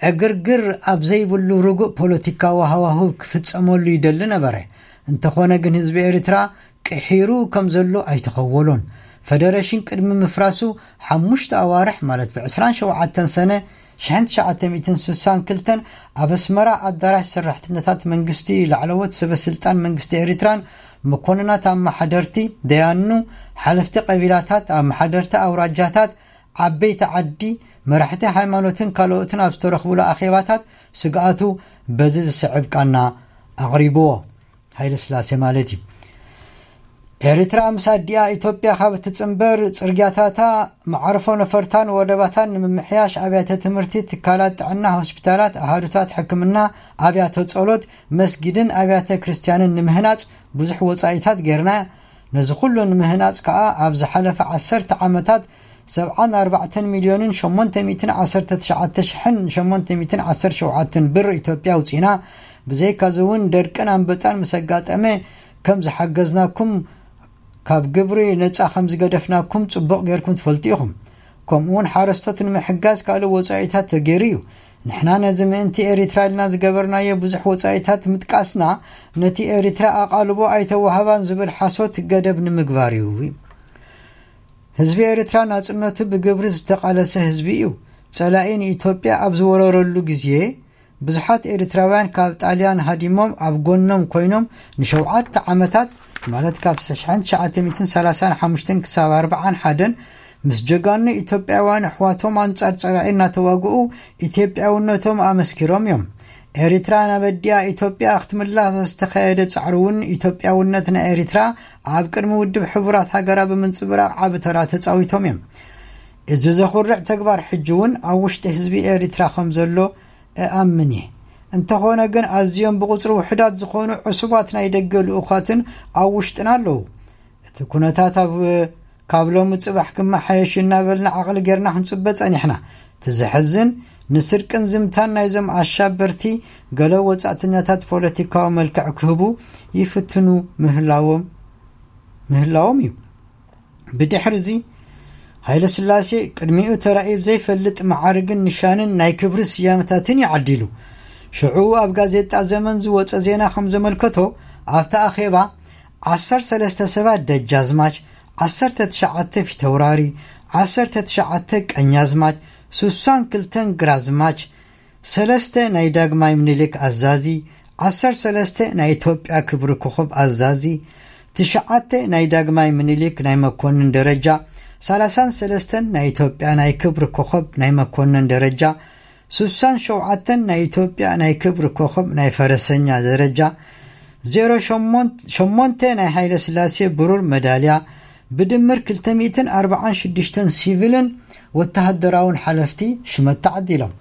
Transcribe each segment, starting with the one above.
ዕግርግር ኣብ ዘይብሉ ርጉእ ፖለቲካዊ ሃዋህው ክፍጸመሉ ይደሊ ነበረ። እንተኾነ ግን ህዝቢ ኤርትራ ቅሒሩ ከም ዘሎ ኣይተኸወሎን። ፈደረሽን ቅድሚ ምፍራሱ ሓሙሽተ ኣዋርሕ፣ ማለት ብ ዕስራን ሸውዓተን ሰነ ሽሕን ትሽዓተ ሚእትን ስሳን ክልተን፣ ኣብ ኣስመራ ኣዳራሽ ሰራሕተኛታት መንግስቲ፣ ላዕለዎት ሰበ ስልጣን መንግስቲ ኤርትራን መኮንናት ኣመሓደርቲ፣ ደያኑ፣ ሓለፍቲ ቀቢላታት፣ ኣመሓደርቲ ኣውራጃታት፣ ዓበይቲ ዓዲ፣ መራሕቲ ሃይማኖትን ካልኦትን ኣብ ዝተረኽቡሉ ኣኼባታት ስግኣቱ በዚ ዝስዕብ ቃና ኣቕሪብዎ። ሃይለ ስላሴ ማለት እዩ። ኤርትራ ምስ ኣዲኣ ኢትዮጵያ ካብ እትጽንበር፣ ጽርግያታታ፣ መዓርፎ ነፈርታን ወደባታን ንምምሕያሽ፣ ኣብያተ ትምህርቲ፣ ትካላት ጥዕና፣ ሆስፒታላት፣ ኣሃዱታት ሕክምና፣ ኣብያተ ጸሎት፣ መስጊድን ኣብያተ ክርስትያንን ንምህናጽ ብዙሕ ወጻኢታት ጌርና። ነዚ ኩሉ ንምህናጽ ከኣ ኣብ ዝሓለፈ ዓሰርተ ዓመታት ሰብዓን ኣርባዕተን ሚልዮንን ሸሞንተ ሚእትን ዓሰርተ ትሽዓተ ሽሕን ሸሞንተ ሚእትን ዓሰርተ ሸውዓተን ብር ኢትዮጵያ ኣውጺእና። ብዘይካዚ እውን ደርቅን ኣንበጣን ምስ ኣጋጠመ ከም ዝሓገዝናኩም፣ ካብ ግብሪ ነጻ ከም ዝገደፍናኩም ጽቡቕ ጌርኩም ትፈልጡ ኢኹም። ከምኡ እውን ሓረስቶት ንምሕጋዝ ካልእ ወጻኢታት ተገይሩ እዩ። ንሕና ነዚ ምእንቲ ኤሪትራ ኢልና ዝገበርናዮ ብዙሕ ወጻኢታት ምጥቃስና፣ ነቲ ኤሪትራ ኣቓልቦ ኣይተዋህባን ዝብል ሓሶት ገደብ ንምግባር እዩ። ህዝቢ ኤሪትራ ናጽነቱ ብግብሪ ዝተቓለሰ ህዝቢ እዩ። ጸላኢ ንኢትዮጵያ ኣብ ዝወረረሉ ግዜ፣ ብዙሓት ኤሪትራውያን ካብ ጣልያን ሃዲሞም ኣብ ጎኖም ኮይኖም ንሸውዓተ ዓመታት፣ ማለት ካብ ሽሕን ትሽዓተ ሚእትን ሰላሳን ሓሙሽተን ክሳብ ኣርባዓን ሓደን፣ ምስ ጀጋኑ ኢትዮጵያውያን ኣሕዋቶም ኣንጻር ጸላኢ እናተዋግኡ ኢትዮጵያውነቶም ኣመስኪሮም እዮም። ኤሪትራ ናብ ኣዲኣ ኢትዮጵያ ክትምለስ ዝተኻየደ ጻዕሪ እውን ኢትዮጵያውነት ናይ ኤሪትራ ኣብ ቅድሚ ውድብ ሕቡራት ሃገራ ብምንጽብራቕ ዓቢ ተራ ተጻዊቶም እዮም። እዚ ዘኹርዕ ተግባር ሕጂ እውን ኣብ ውሽጢ ህዝቢ ኤሪትራ ከም ዘሎ እኣምን እየ። እንተኾነ ግን ኣዝዮም ብቑጽሪ ውሑዳት ዝኾኑ ዕሱባት ናይ ደገ ልኡኻትን ኣብ ውሽጥና ኣለዉ። እቲ ኩነታት ኣብ፣ ካብ ሎሚ ጽባሕ ክመሓየሽ እናበልና ዓቕሊ ጌርና ክንጽበ ጸኒሕና። እቲ ዘሕዝን፣ ንስርቅን ዝምታን ናይዞም ኣሻበርቲ ገለ ወጻእተኛታት ፖለቲካዊ መልክዕ ክህቡ ይፍትኑ ምህላዎም፣ ምህላዎም እዩ። ብድሕሪ እዚ፣ ሃይለ ስላሴ ቅድሚኡ ተራእዩ ዘይፈልጥ መዓርግን ንሻንን ናይ ክብሪ ስያመታትን እዩ ዓዲሉ። ሽዑ ኣብ ጋዜጣ ዘመን ዝወጸ ዜና ከም ዘመልከቶ፣ ኣብቲ ኣኼባ ዓሰርተ ሰለስተ ሰባት ደጃዝማች፣ ዓሰርተ ትሽዓተ ፊተውራሪ፣ ዓሰርተ ትሽዓተ ቀኛዝማች፣ ስሳን ክልተን ግራዝማች፣ ሰለስተ ናይ ዳግማይ ምኒልክ ኣዛዚ፣ ዓሰርተ ሰለስተ ናይ ኢትዮጵያ ክብሪ ኮኸብ ኣዛዚ፣ ትሽዓተ ናይ ዳግማይ ምኒልክ ናይ መኮንን ደረጃ፣ ሰላሳን ሰለስተን ናይ ኢትዮጵያ ናይ ክብሪ ኮኸብ ናይ መኮንን ደረጃ፣ ስሳን ሸውዓተን ናይ ኢትዮጵያ ናይ ክብሪ ኮኸብ ናይ ፈረሰኛ ደረጃ፣ ዜሮ ሸሞንተ ናይ ሃይለ ስላሴ ብሩር መዳልያ፣ ብድምር ክልተ ሚእትን ኣርባዓን ሽዱሽተን ሲቪልን ወተሃደራውን ሓለፍቲ ሽመት ተዓዲሎም።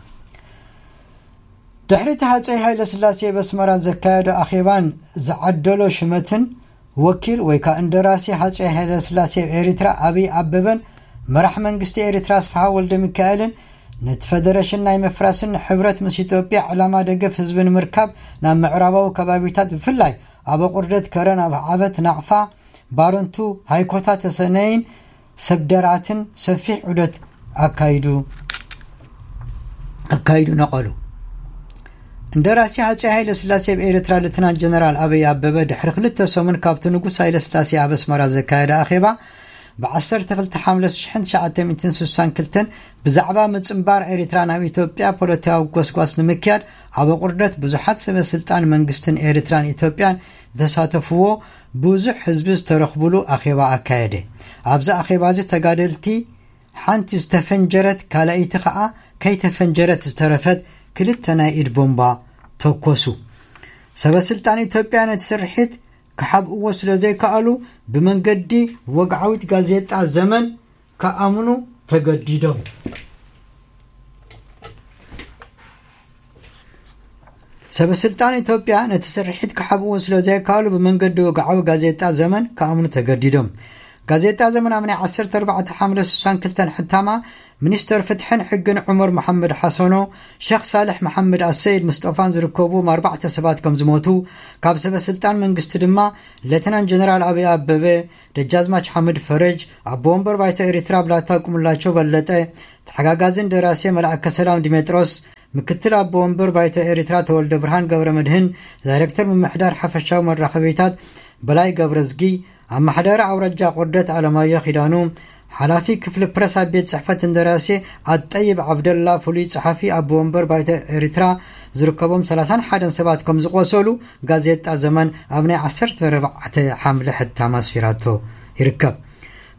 ድሕሪ እቲ ሃጸይ ሃይለ ስላሴ በስመራ ዘካየዶ ኣኼባን ዝዓደሎ ሽመትን፣ ወኪል ወይ ከኣ እንደራሲ ሃጸይ ሃይለ ስላሴ ኣብ ኤሪትራ ኣብይ ኣበበን መራሕ መንግስቲ ኤሪትራ ኣስፍሃ ወልደ ሚካኤልን ነቲ ፈደረሽን ናይ ምፍራስን ንሕብረት ምስ ኢትዮጵያ ዕላማ ደገፍ ህዝቢ ንምርካብ ናብ ምዕራባዊ ከባቢታት፣ ብፍላይ ኣብ ኣቑርደት ከረን፣ ኣብ ዓበት፣ ናቕፋ፣ ባረንቱ፣ ሃይኮታ፣ ተሰነይን ሰብደራትን ሰፊሕ ዑደት ኣካይዱ ኣካይዱ ነቐሉ። እንደራሲ ሃጸይ ሃይለ ስላሴ ኣብ ኤርትራ ሌተናንት ጀነራል ኣበይ ኣበበ ድሕሪ ክልተ ሰሙን ካብቲ ንጉስ ሃይለ ስላሴ ኣብ ኣስመራ ዘካየደ ኣኼባ፣ ብ ዓሰርተ ክልተ ሓምለ ሽሕን ትሽዓተ ሚእትን ስሳን ክልተን ብዛዕባ ምጽንባር ኤርትራ ናብ ኢትዮጵያ ፖለቲካዊ ጎስጓስ ንምክያድ ኣብ ኣቑርደት ብዙሓት ሰበ ስልጣን መንግስትን ኤርትራን ኢትዮጵያን ዝተሳተፍዎ ብዙሕ ህዝቢ ዝተረኽቡሉ ኣኼባ ኣካየደ። ኣብዚ ኣኼባ እዚ ተጋደልቲ ሓንቲ ዝተፈንጀረት ካልኣይቲ ኸኣ ከይተፈንጀረት ዝተረፈት ክልተ ናይ ኢድ ቦምባ ተኮሱ። ሰበ ስልጣን ኢትዮጵያ ነቲ ስርሒት ክሓብእዎ ስለ ዘይከኣሉ ብመንገዲ ወግዓዊት ጋዜጣ ዘመን ክኣምኑ ተገዲዶም። ሰበ ስልጣን ኢትዮጵያ ነቲ ስርሒት ክሓብእዎ ስለ ዘይከኣሉ ብመንገዲ ወግዓዊ ጋዜጣ ዘመን ክኣምኑ ተገዲዶም። ጋዜጣ ዘመን ኣብ ናይ ዓሰርተ ኣርባዕተ ሓምለ ስሳን ክልተን ሕታማ፣ ሚኒስተር ፍትሕን ሕግን ዑመር መሓመድ ሓሰኖ፣ ሸኽ ሳልሕ መሓመድ ኣሰይድ ምስጦፋን ዝርከብዎም ኣርባዕተ ሰባት ከም ዝሞቱ፣ ካብ ሰበ ስልጣን መንግስቲ ድማ ሌተናንት ጀነራል ኣብይ ኣበበ፣ ደጃዝማች ሓምድ ፈረጅ፣ ኣቦ ወንበር ባይቶ ኤሪትራ ብላታ ቁምላቸው በለጠ፣ ተሓጋጋዝን ደራሲ መልኣከ ሰላም ዲሜጥሮስ፣ ምክትል ኣቦ ወንበር ባይቶ ኤሪትራ ተወልደ ብርሃን ገብረ መድህን፣ ዳይሬክተር ምምሕዳር ሓፈሻዊ መራኸቢታት በላይ ገብረዝጊ፣ ኣመሓዳሪ ኣውራጃ ቁርደት ኣለማዮ ኪዳኑ፣ ሓላፊ ክፍሊ ፕረስ ኣብ ቤት ጽሕፈት እንደራሴ ኣጠይብ ዓብደላ፣ ፍሉይ ጸሓፊ ኣቦ ወንበር ባይቶ ኤሪትራ ዝርከቦም ሰላሳን ሓደን ሰባት ከም ዝቆሰሉ ጋዜጣ ዘመን ኣብ ናይ ዓሰርተ ኣርባዕተ ሓምለ ሕታም ኣስፊራቶ ይርከብ።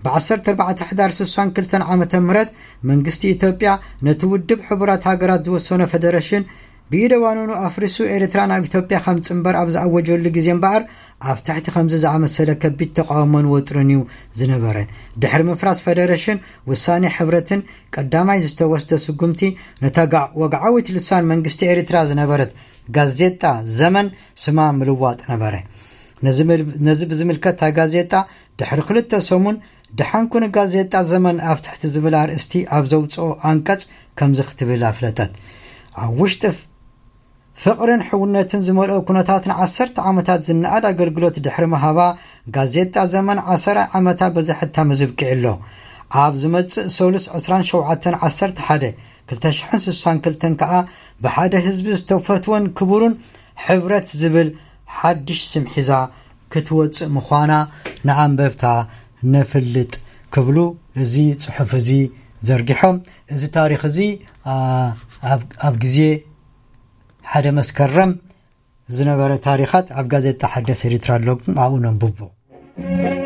ብ ዓሰርተ ኣርባዕተ ሕዳር ስሳን ክልተን ዓመተ ምህረት መንግስቲ ኢትዮጵያ ነቲ ውድብ ሕቡራት ሃገራት ዝወሰኖ ፈደረሽን ብኢደ ዋኑኑ ኣፍሪሱ ኤርትራ ናብ ኢትዮጵያ ከም ጽንበር ኣብ ዝኣወጀሉ ግዜ እምበኣር ኣብ ትሕቲ ከምዚ ዝኣመሰለ ከቢድ ተቃውሞን ወጥርን እዩ ዝነበረ። ድሕሪ ምፍራስ ፈደረሽን ውሳኔ ሕብረትን ቀዳማይ ዝተወስደ ስጉምቲ ነታ ጋዕ-፣ ወግዓዊት ልሳን መንግስቲ ኤርትራ ዝነበረት ጋዜጣ ዘመን ስማ ምልዋጥ ነበረ። ነዚ ምል-፣ ነዚ ብዝምልከት እታ ጋዜጣ ድሕሪ ክልተ ሰሙን ደሓንኩ ንጋዜጣ ዘመን ኣብ ትሕቲ ዝብል ኣርእስቲ ኣብ ዘውፅኦ ኣንቀጽ ከምዚ ክትብል ኣፍለጠት። ኣብ ውሽጢ ፍ-፣ ፍቕርን ሕውነትን ዝመልኦ ኩነታት ንዓሰርተ ዓመታት ዝነኣድ ኣገልግሎት ድሕሪ ምሃባ ጋዜጣ ዘመን ዓሰርተ ዓመታ በዚ ሕታም እዚ ኣብቂዑ ኣሎ። ኣብ ዝመጽእ ሰሉስ ዕስራን ሸውዓተን ዓሰርተ ሓደ ክልተ ሽሕን ስሳን ክልተን ከኣ ብሓደ ህዝቢ ዝተፈትወን ክቡርን ሕብረት ዝብል ሓድሽ ስም ሒዛ ክትወጽእ ምዃና ንኣንበብታ ነፍልጥ ክብሉ እዚ ጽሑፍ እዚ ዘርጊሖም። እዚ ታሪኽ እዚ፣ ኣ፣ ኣብ፣ ኣብ ግዜ ሓደ መስከረም ዝነበረ ታሪኻት ኣብ ጋዜጣ ሓደስ ኤሪትራ ኣሎ፣ ኣብኡ ነንብቦ።